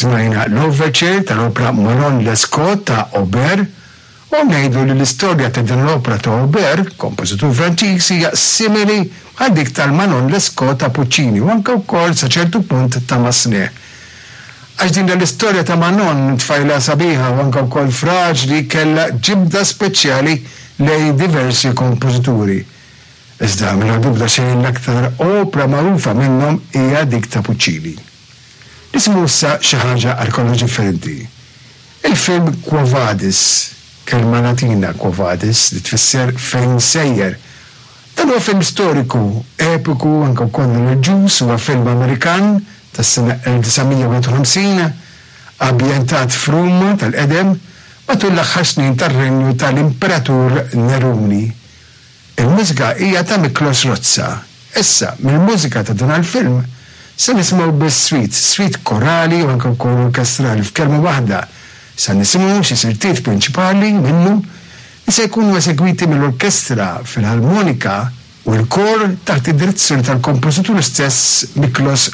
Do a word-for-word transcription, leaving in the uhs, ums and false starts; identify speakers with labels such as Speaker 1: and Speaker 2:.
Speaker 1: Smajna l-overture tal-opra Manon Lescaut ta' Auber u ngħidu li l-istorja ta' din l-opra ta' Auber, kompożitur Franċiż, hija simili għal dik tal-Manon Lescaut ta' Puccini u anke wkoll sa ċertu punt ta' Massenet. Għax din l-istorja ta' Manon, tfajla sabiħa u anke wkoll fraġli, kellha ġibda speċjali lejn diversi kompożituri. Iżda mingħajr dubju ta' xejn l-aktar opra magħrufa minnhom hija dik ta' Puccini. Nisimgħu issa xi ħaġa għal kollox differenti. Il-film Quo Vadis, kelma Latina Quo Vadis li tfisser fejn sejjer. Dan huwa film storiku, epiku, anke wkoll reliġjuż, huwa film Amerikan tas-sena elf disa' mija wieħed u ħamsin, ambjentat f'Ruma tal-qedem matul l-aħħar snin tar-renju tal-Imperatur Neruni. Il-mużika hija ta' Miklos Rozsa. Issa, mill-mużika ta' dan il-film, se nisimgħu biss suite, suite korali u anke wkoll orkestrali. F'kelma waħda, se nisimgħu xi siltiet prinċipali minnu li se jkunu esegwiti mill-Orkestra Filarmonika u l-kor taħt id-direzzjoni tal-kompożitur stess, Miklos.